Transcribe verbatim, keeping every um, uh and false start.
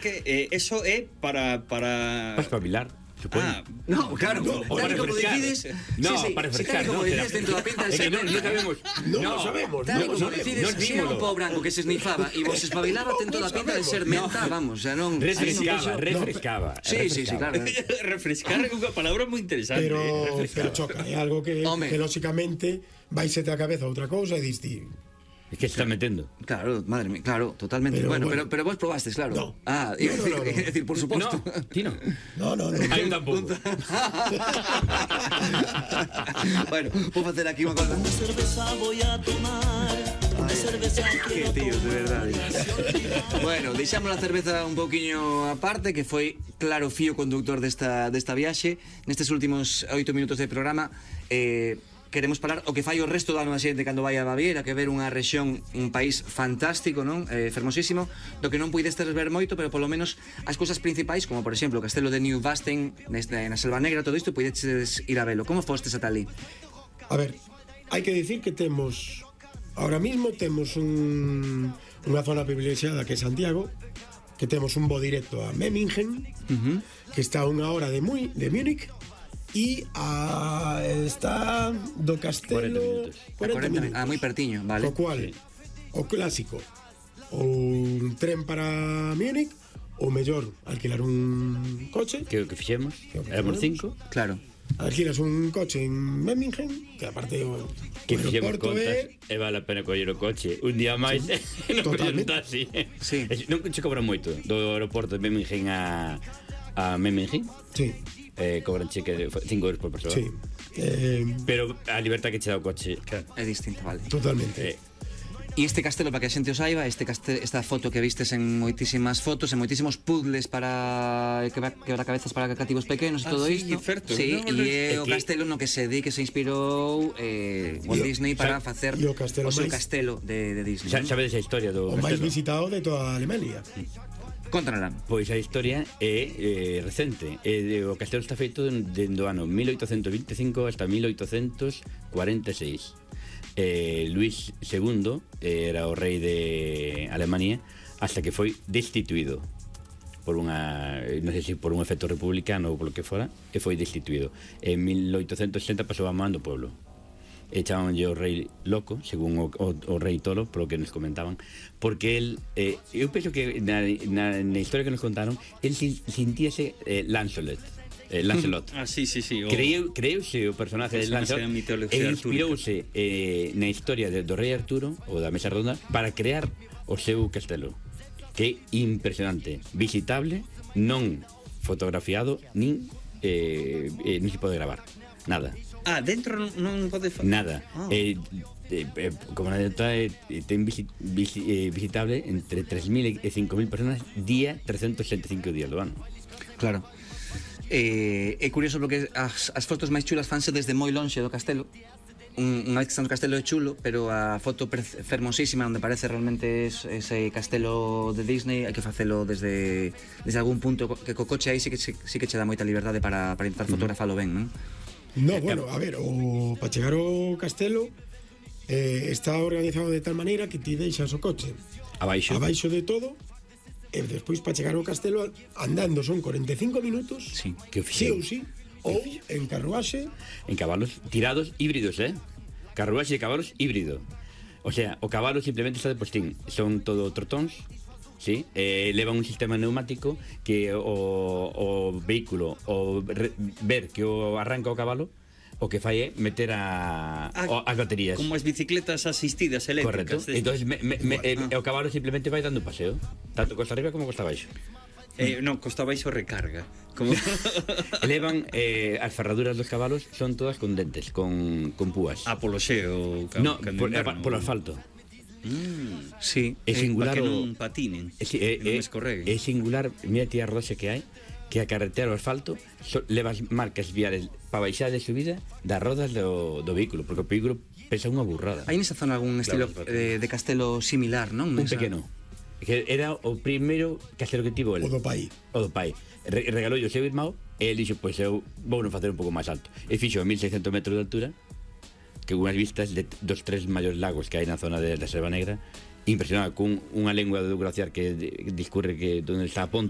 que eh, eso é para... para... Para espabilar. Ah, no, claro, no, tal y como decides. No, sí, sí, para refrescar. sí, tal y como no, decides dentro da pinta de ser. No, no sabemos. No, no sabemos. Tal y como no, decides, no, si era un pau branco que se esnifaba e vos espabilaba, ten toda a pinta de ser menta, vamos, xa non. Refrescaba, refrescaba. Sí, sí, sí, claro. refrescar é unha palabra moi interesante. Pero, eh, pero choca, é algo que, que lógicamente vais a cabeza outra cousa e diste. Es que se está metendo. Claro, madre mía, claro, totalmente. Pero, bueno, bueno. pero, pero vos probastes, claro. No. Ah, No, es no, decir, no, no. es decir, por supuesto. No, ti no. No, no, no. Hai un tampouco. Bueno, vou facer aquí unha cosa. Una cerveza voy a tomar. Una cerveza Que tío, de verdade. Bueno, deixamos a cerveza un pouquiño aparte, que foi claro fío conductor desta, desta viaxe. Nestes últimos oito minutos de programa, eh, queremos falar o que fai o resto do ano a xente cando vai a Baviera, que ver unha rexión, un país fantástico, non? Eh, fermosísimo, do que non puidestes ver moito, pero polo menos as cousas principais, como por exemplo o castelo de New Vasten, neste, na Selva Negra, todo isto, puideches ir a velo. Como fostes ata ali? A ver, hai que dicir que temos ahora mismo temos un, unha zona privilexiada que é Santiago, que temos un voo directo a Memmingen, uh-huh. que está a unha hora de, Mui, de Múnich, e a, está do castelo cuarenta minutos. Ah, moi pertiño, vale. Co cual, sí. O clásico, ou un tren para Múnich, ou mellor, alquilar un coche. Que o que fixemos, éramos cinco. Claro. Alquilas un coche en Memmingen, que aparte o, que o fixemos aeroporto contas é... e vale a pena coller o coche un día máis sí. non collemos taxi. Sí. Non che cobran moito do aeroporto de Memmingen a, a Memmingen. Sí. Eh, cobran cheque de cinco euros por persona. Sí. Eh, pero a libertad que che dá o coche, claro, é distinta, vale. Totalmente. Eh, E este castelo, para que a xente o saiba, este castelo, esta foto que vistes en moitísimas fotos, en moitísimos puzzles para quebra-cabezas para cativos pequenos e ah, todo sí, isto. Certo, sí, no, e é o que... castelo no que se di que se inspirou eh, Walt Disney para xa, facer o, o seu máis... castelo de, de Disney. Xa, sabes a historia do o castelo? máis visitado de toda a Alemania. Contanala. Pois a historia é eh, recente. Eh, o castelo está feito dende o ano mil oitocentos vinte e cinco hasta mil oitocentos cuarenta e seis. Eh, Luis segundo eh, era o rei de Alemania hasta que foi destituído por unha, non sei se por un efecto republicano ou polo que fora, e foi destituído. En mil oitocentos sesenta pasou a man do pueblo. E chamanlle o rei loco, según o, o, o rei tolo, polo que nos comentaban, porque el, eh, eu penso que na, na, na historia que nos contaron, el sentíase eh, Lancelot. Eh, Lancelot. Ah, sí, sí, sí. O... Creu, creuse o personaje de Lancelot e inspirouse eh, na historia de, do rei Arturo, ou da Mesa Redonda, para crear o seu castelo, que é impresionante, visitable, non fotografiado, nin eh, eh, nin se pode gravar, nada. Ah, dentro non pode facer nada. Ah. Eh, eh, eh, como na dentro eh, ten visi, visi, eh, visitable entre tres mil e cinco mil personas día trescentos sesenta e cinco días do ano. Claro. Eh, é curioso porque as, as fotos máis chulas fanse desde moi lonxe do castelo. Un, unha vez que está no castelo é chulo, pero a foto fermosísima onde parece realmente es, ese castelo de Disney hai que facelo desde desde algún punto que co coche aí sí que, sí, sí que che dá moita liberdade para, para intentar fotografalo ben, non? No, bueno, a ver, o para chegar ao castelo eh, está organizado de tal maneira que ti deixas o coche abaixo, abaixo de todo. E despois para chegar ao castelo andando son cuarenta e cinco minutos. Sí, que sí ou sí, ou en carruaxe, en cabalos tirados híbridos, eh? Carruaxe de cabalos híbrido. O sea, o cabalo simplemente está de postín, son todo trotóns, sí, eh, leva un sistema neumático que o, o vehículo o re, ver que o arranca o cabalo, o que fai é meter a, ah, o, as baterías. Como as bicicletas asistidas eléctricas. Correcto. Entonces me, me, me, eh, ah. o cabalo simplemente vai dando un paseo, tanto costa arriba como costa abaixo. Eh, non, costa abaixo recarga. Como... Elevan eh, as ferraduras dos cabalos son todas con dentes, con, con púas. Ah, polo xeo. No, por, polo asfalto. Mm. Sí, é singular para que o... non patinen, é, é, que non escorreguen. É singular, mira ti a rodaxe que hai, que a carretera o asfalto so, levas marcas viales para baixar de subida das rodas do, do vehículo, porque o vehículo pesa unha burrada. Hai nesa zona algún estilo claro, eh, de castelo similar, non? Un Nesa... pequeno. Que era o primeiro castelo que tivo el. O do pai. O do pai. Re regalou o seu irmão e ele dixo, pois eu vou non facer un pouco máis alto. E fixo a mil seiscentos metros de altura, que unhas vistas de, dos tres maiores lagos que hai na zona de, da Selva Negra, impresionado, con unha lengua do glaciar que discurre que donde está a ponte